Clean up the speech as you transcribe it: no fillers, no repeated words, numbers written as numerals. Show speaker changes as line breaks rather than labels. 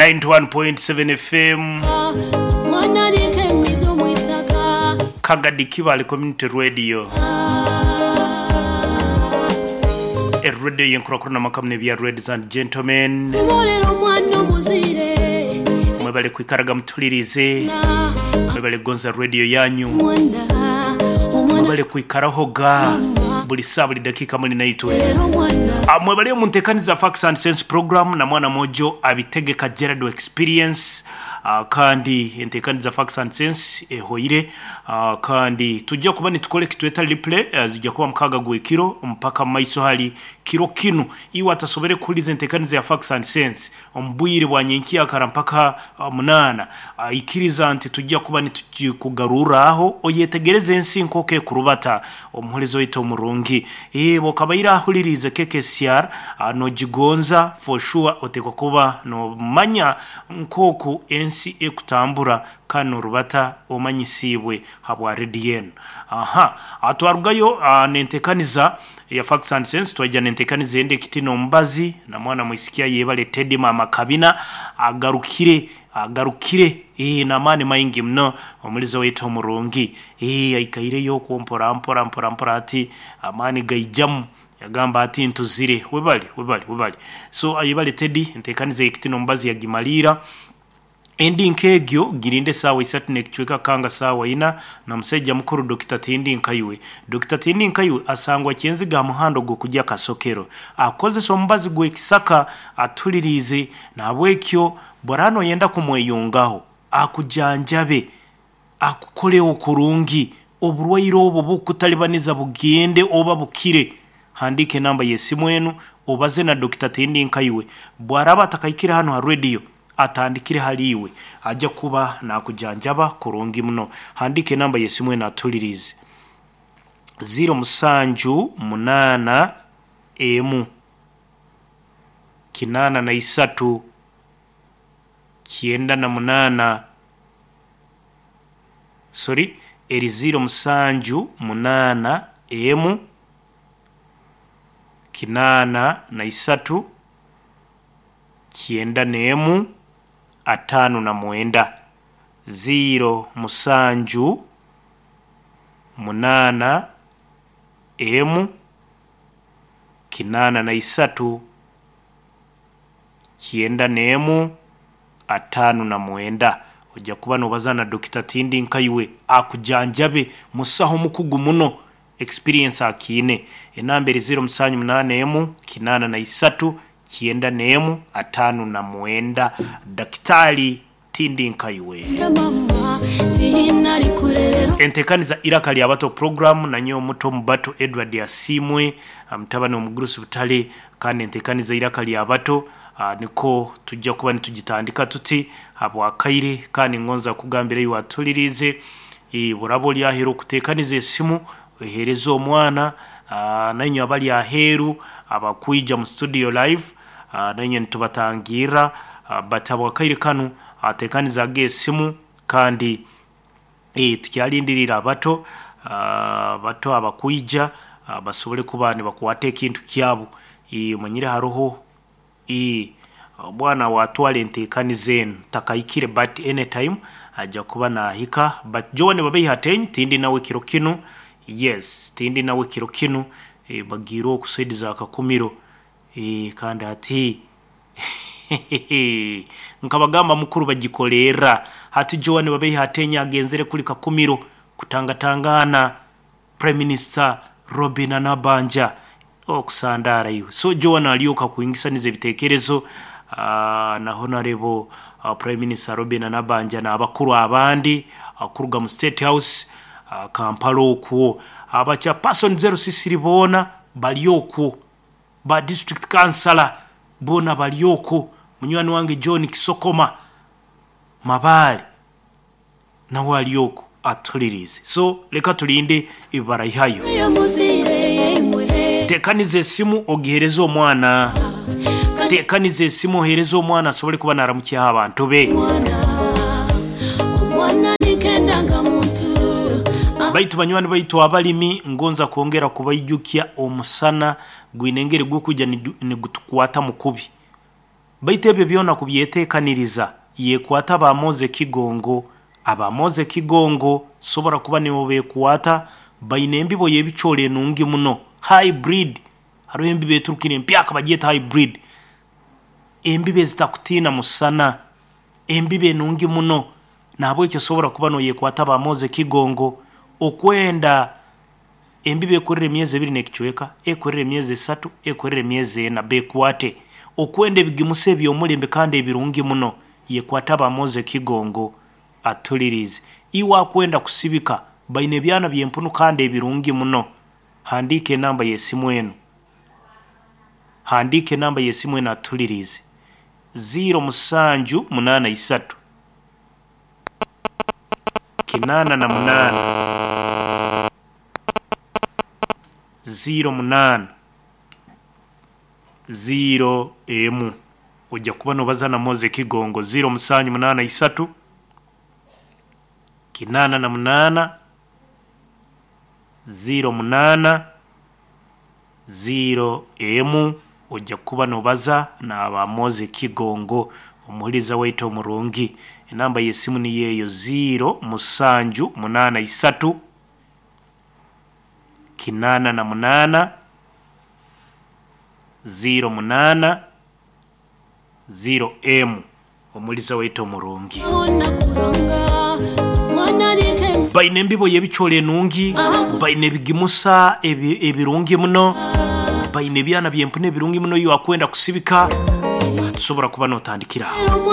91.7 FM Kagadi Kibale Community Radio Radio y'enkurakurana amaka muno ebya Ladies and Gentlemen Mwebale kwikaraga mutulirize Mwebale kugonza radio yanyu Mwebale kwikarahoga buli saa buli dakiika muli naitwe Mwebale omu nteekaniza Facts and Sense program na mwana mwojo abitegeka Gerald Experience Kandi enteekaniza Facts and Sense ehoire kandi tujja kuba nitukora ekitweta replay zijja kuba mukaaga gw'ekiro mpaka mumaiso hali kiro kinu. Iwe atasobore kuhuriza enteekaniza ya Facts and Sense omu bwire bwa nyenkyakara mpaka munaana, ikiriza nti tujja kuba nitugikugarurraho oyetegereze ensi nk'oku ekurubata. Omuhuriza waitu omurungi, obu okabaire ahuririize KKCR nogigonza for sure oteekwa kuba nomanya nk'oku ensi ekutambura kandi norubata omanyisiibwe habwa rediyo enu. Aha, twarugayo n'enteekaniza eya Facts and Sense twaija n'enteekaniza endi ekiti n'omubazi na mwana mwisiki ayebale Teddy Maama Kabina agarukire agarukire n'amaani maingi muno omulizi waitu omurungi aikaireyo okwo mpora mpora mpora mpora ati amaani gaijamu yagamba ati ntuzire webale webale webale so ayebale Teddy enteekaniza ey'ekiti n'omubazi yagimaliira. Endi nk'egyo girinde esaawa isatu n'ekicweka kanga saawa ina na musaija mukuru Dokita Tindi Nkaiwe. Dokita Tindi Nkaiwe asangwa Kyenziga aha muhanda ogw'okugya Kasokero. Akozesa omubazi gw'ekisaka atuliriize nahabwekyo bworaba noyenda kumweyungaho akujanjabe, akukoleho kurungi, oburwaire obu obukukutalibaniza bugende oba bukire. Handiika enamba y'esimu enu obaze na Dokita Tindi Nkaiwe. Bwaraba atakahikire hanu ha rediyo atandikire hali iwe aja kuba nakujanjaba kurungi muno. Handiika enamba y'esimu enu atuliriize. Ziro musanju munaana emu kinaana na isatu kyenda na munaana sorry eri ziro musanju munaana emu kinaana na isatu kyenda n'emu ataano na mwenda. Ziro musanju munaana emu kinaana na isatu kyenda n'emu ataano na mwenda. Oija kuba nobaza na Dokita Tindi Nkaiwe akujanjabe musaho mukugu muno experience akiine. Enamba eri ziro musanju munaana emu kinaana na isatu kyenda n'emu ataano na mwenda. Dakitaali Tindi Nkaiwe. Enteekaniza Iraka lya Bato program na nyowe omuto omu bato Edward Asiimwe mutabani w'omugurusi Butale kandi enteekaniza Iraka lya Bato nikwo tujja kuba nitugitandika tuti habw'akaire kandi ngonza kugambira iwe atuliriize bworaba ori aheeru okuteekaniza esimu oheereze omwana nainywe abali aheeru abakwija mu studio live nainywe nitubatangirra but habw'akaire kanu teekanizaaga esimu kandi tukyalindiriire abato abato abakwija basobole kuba nibakwata ekintu kyabu. Omanyire haroho omwana watwara enteekaniza enu takahikire but anytime aija kuba naahika but Joan Babeiha Ateenyi tindi nawe kiro kinu, yes tindi nawe kiro kinu bagiire oku saidi za Kakumiro kandi hati nkabagamba mukuru bagikolerra hati Joan Babeiha Ateenyi agenzere kuli Kakumiro kutangatangaana Prime Minister Robinah Nabbanja okusandaara iwe. So Joan alyoka kwingisaniza ebiteekerezo na Honorable Prime Minister Robinah Nabbanja n'abakuru abandi kuruga mu State House Kampala okwo. Aba Chairperson Zero Sisiri boona bari okwo, ba District Councillor boona bari okwo, munywani wange John Kisokoma Mabaale nawe ari okwo atuhuririize. So leka tulinde ebi baraihayo. Teekaniza esimu ogiheereze omwana. Teekaniza esimu oheereze omwana asobole kuba naaramukyaho abantu be. Baitu banywani baitu abalimi ngonza kwongera kubaijukya omusana gwine engeri gukwija nigutukwatamu kubi. Baitu ebyo byona kubyeteekaniriza yekwata abamoze Kigongo. Abamoze Kigongo sobora kuba nibo bekwata, baine embibo y'ebicoori enungi muno hybrid. Haroho embibo eturukire empyaka bagyeta hybrid, embibo ezitakutiina musana, embibo enungi muno. Nahabweki osobora kuba noyekwata abamoze Kigongo okwenda embibo ekurira emyezi ebiri n'ekicweka, ekurira emyezi 3, ekurira emyezi 4, bekwate. Okwenda ebigimusa eby'omulembe kandi ebirungi muno, yekwata abamoze Kigongo atulirize. Iwe akwenda kusibika, baine ebyana by'empunu kandi ebirungi muno. Handiika enamba y'esimu enu, handiika enamba y'esimu enu atulirize: 0783 88 08 0 ojja kuba nobaza na Moze Kigongo. 0783 88 08 0 ojja kuba nobaza n'aba Moze Kigongo. Omuhuliza waitu omurungi, enamba y'esimu niyo eyo: 0783 88 08 0 omuliza waitu omurungi, baine embibo y'ebicoori enungi, baine ebigimusa ebirungi muno, baine ebyana by'empunu ebirungi muno. Iwe akwenda kusibika, tusobora kuba notandikira aho.